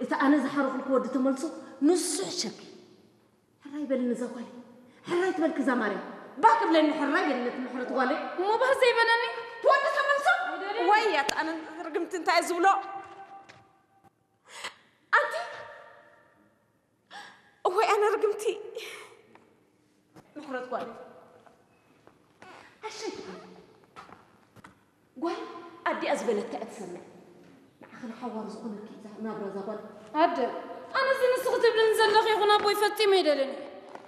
እቲ ኣነ ዝሓረኹልኩ ወዲ ተመልሶ ንሱ ሕሸኪ። ሕራይ በልኒ እዛ ጓለይ። ሕራይ ትበልኪ እዛ ማርያም። ባህ ክብለኒ ሕራይ በልኒ እቲ ምሕረት ጓለይ። እሞ ባህ ዘይበለኒ? ትወዲ ተመልሶ? ኣይደልን። ወይ ኣቲ ኣነ ርግምቲ እንታይ ዝብሎ? ኣንቲ እወይ ኣነ ርግምቲ። ምሕረት ጓል ኣሸይ ትኾን? ጓል ኣዲኣ ዝበለታ እያ ትሰምዕ። ንዓኺ ንሓዋሩ ዝኾነኪ እዛ ናብራ እዛ ጓል። ኣደ ኣነ እዚ ንስኺ ትብልኒ ዘለኺ ይኹን ኣቦይ ፈጺመ ኣይደልን።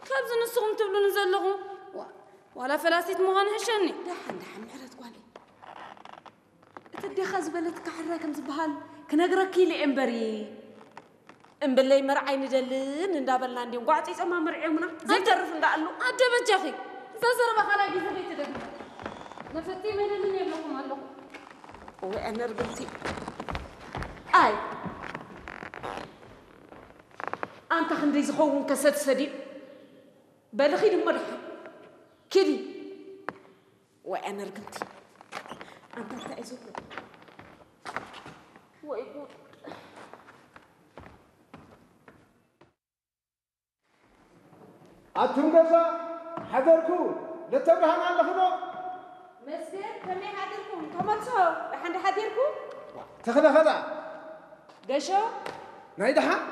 ካብዚ ንስኹም ትብሉኒ ዘለኹም ዋ- ዋላ ፈላሲት ምዃን ይሕሸኒ። ደሓን ደሓን ምሕረት ጓለይ። እቲ ኣዴኻ ዝበለትካ ሕራይ ከም ዝበሃል ክነግረኪ ኢለ እየ እምበሪ። እምበለይ መርዓይ ንደልን እንዳበልና እንዲዮም ጓዕፂፆማ መርዒዮምና ዘይተርፍ እንዳኣሉ። ኣደ በጃኺ እዛ ዘረባ ካልኣይ ግዜ ከይትደግሚ። መፈቲ መደልን የብለኩም ኣለኹ። ወይ ኣነ ርግምቲ። ኣይ ኣንታ ክንደይ ዝኸውን ከሰድ ሰዲድ። በሊ ኺዲ እሞ ደሓን ኪዲ። ወይ ኣነ ርግምቲ። ኣንታ እንታይ እዩ ዝብሎ? ወይ ጉድ። ኣቱም ገዛ ሓደርኩ። ለተብርሃን ኣለኹ ዶ? መስገን ከመይ ሓዲርኩም? ተመልሶ ደሓን ዶ ሓዲርኩ? ተኽለ ኸዳ? ገሾ ናይ ደሓን?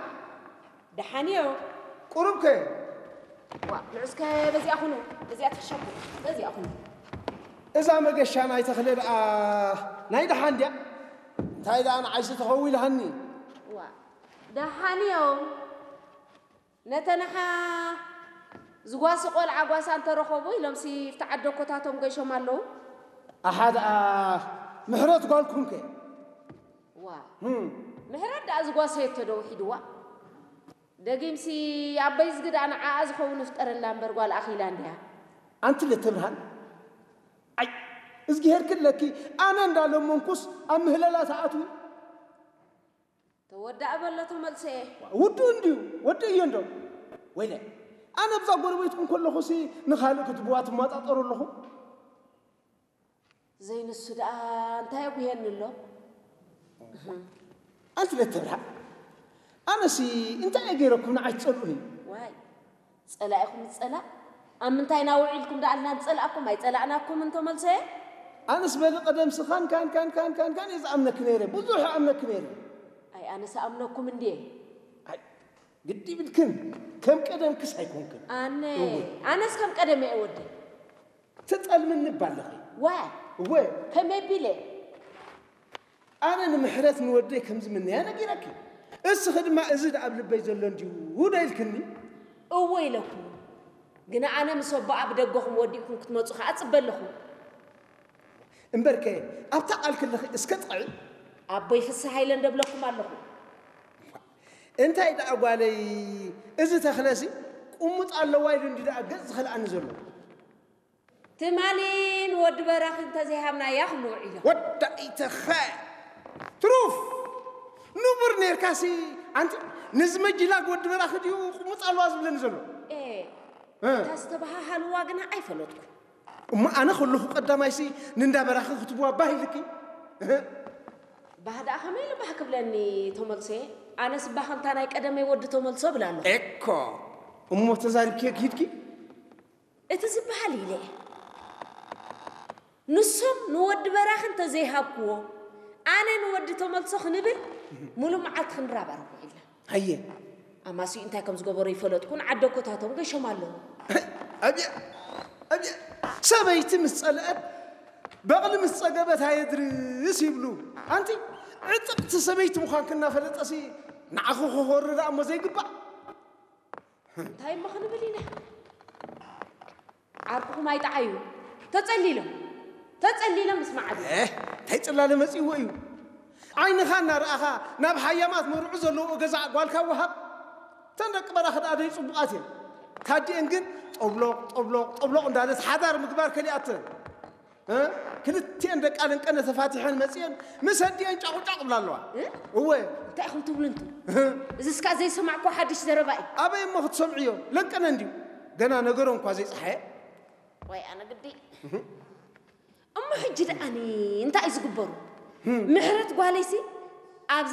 ደሓን እዮ። ቁሩብ ከ? ዋ ንዑስከ በዚኣ ኩኑ። በዚኣ ትሕሸኩ። በዚኣ ኩኑ። እዛ መገሻ ናይ ተኽለ ደኣ ናይ ደሓን ድያ? እንታይ ደኣ ንዓይሲ ተኸዊልሃኒ? ዋ ደሓን እዮም። ነተንሓ ዝጓሲ ቆልዓ ጓሳ እንተረኸቡ ኢሎምሲ ፍቲ ዓደኮታቶም ገይሾም ኣለዉ። ኣሓ ደኣ ምሕረት ጓልኩምከ? ዋ ህም። ምሕረት ደኣ ዝጓሰየቶ ዶ ውሒድዋ? ደጊምሲ ኣበይ ዝግድኣ ንዓኣ ዝኸውን ይፍጠረላ እምበር ጓል ኣኺላ እንድያ። ኣንቲ ለተብርሃን ኣይ እዝግሄር ክለኪ ኣነ እንዳለመንኩስ ኣብ ምህለላ ተኣትዊ። ተወዳእ በሎ ተመልሰ። ውዱ እንድዩ ወዲ እዮ እንዶ ወይለ ኣነ ብዛ ጎረቤትኩም ከለኹሲ ንኻልእ ክትብዋ ትማጣጠሩ ኣለኹ። ዘይንሱ ደኣ እንታይ ኣጉሄኒ ኣሎ? ኣንቲ ለተብርሃ ኣነሲ እንታይ እየ ገይረኩም ንዓይ ትጸልኡኒ? ዋይ ጸላኢኹም ጸላእ ኣብ ምንታይ ናውዒልኩም ደኣልና ንጸላእኩም ኣይጸላእናኩም እንተመልሰ። ኣነስ በሊ ቀደምሲ ካን ካን ካን ካን ካን ካን እየ ዝኣምነኪ ነይረ ብዙሕ እኣምነኪ ነይረ። ኣይ ኣነስ ኣምነኩም እንድየ። ኣይ ግዲ ይብልክን ከም ቀደምክስ ኣይኮንክን። ኣነ እወ። ኣነስ ከም ቀደም እየ ወዲ። ትጠልምኒ እባ ኣለኺ። ዋይ እወ። ከመይ ቢለ? ኣነ ንምሕረት ንወደይ ከም ዝምነያ ነጊረኪ። እስኺ ድማ እዚ ደኣ ኣብ ልበይ ዘሎ እንድዩ ዶ ኢልክኒ? እወ ኢለኩ። ግና ኣነ ምስ ኣቦኣ ብደገኹም ወዲእኩም ክትመጹ ከኣ እጽበ ኣለኹ። እምበርከ ኣብታ ቃል ክለኺ እስከ ጥቕዒ። ኣቦይ ፍስሃ ኢለ እንደብለኩም ኣለኹ። እንታይ ደኣ ጓለይ እዚ ተኽለሲ ቁሙጥ ኣለዋ ኢሉ እንዲ ደኣ ገጽ ዝኸልኣኒ ዘሎ። ትማሊ ንወዲ በራኺ እንተዘይሃብናያ ክንውዕዮ። ወዳ ኢተኸ ትሩፍ ንቡር ኔርካሲ ኣንቲ ነዚ መጅላግ ወዲ በራኺ ድዩ ቁሙጥ ኣለዋ ዝብለኒ ዘሎ? ኤ፣ እ። እታ ዝተበሃሃልዋ ግና ኣይፈለጥኩ። እሞ ኣነ ከለኹ ቀዳማይሲ ንንዳ በራኺ ክትብዋ ባህ ኢልኪ? እህ። ባህ ደኣ ከመይ ኢሉ ባህ ክብለኒ ተመልሶ? ኣነስ ባህ ከምታ ናይ ቀደመይ ወዲ ተመልሶ እብል ኣለኹ። ኤኮ እሞ ተዛሪብኪ ኪድኪ? እቲ ዝበሃል ኢለ እየ። ንሶም ንወዲ በራኺ እንተዘይሃብክዎ ኣነ ንወዲ ተመልሶ ክንብል ሙሉእ መዓልቲ ክንራባረብ ውዒልና። ሃየ። ኣማስይኡ እንታይ ከም ዝገበሮ ይፈለጥኩ ንዓደኮታቶም ገሾም ኣለዉ። ኣብየ ኣብየ ሰበይቲ ምስ ጸልአት በቕሊ ምስ ጸገበት ኣየድርስ ይብሉ። ኣንቲ ዕጥቕቲ ሰበይቲ ምዃንኪ እናፈለጠሲ ንዓኺ ክኾሪ ደኣ እሞ ዘይግባእ። እንታይ እሞ ክንብል ኢና? ዓርኩኹም ኣይጠዓዩ። ተጸሊሎም ተጸሊሎም ምስ መዓዱ። ኤህ እንታይ ጽላለ መጺእዎ እዩ? ዓይንኻ እናረኣኻ ናብ ሃያማት መርዑ ዘለዎ ገዛ ጓልካ ወሃብ። እተን ደቂ በራኺ ደኣ ደይ ጽቡቓት እየን። ታዲአን ግን ጦብሎቕ ጦብሎቕ ጦብሎቕ እንዳለት ሓዳር ምግባር ከሊኣተን። እ? ክልቲኤን ደቃ ለንቀነ ተፋቲሐን መጺኤን ምስ ኣዲኤን ጫቑጫቕ ብላ ኣለዋ። እ? እወ። እንታይ ኢኹም ትብሉ እንቱ? እዚ እስካ ዘይሰማዕኮ ሓድሽ ዘረባ እዩ። ኣበይ እሞ ክትሰምዕዮ? ለንቀነ እንድዩ። ገና ነገሮም እኳ ዘይጸሓየ። ወይ ኣነ ግዲ። እሞ ሕጂ ደኣኒ እንታይ እዩ ዝግበሩ? ምሕረት ጓለይሲ ኣብ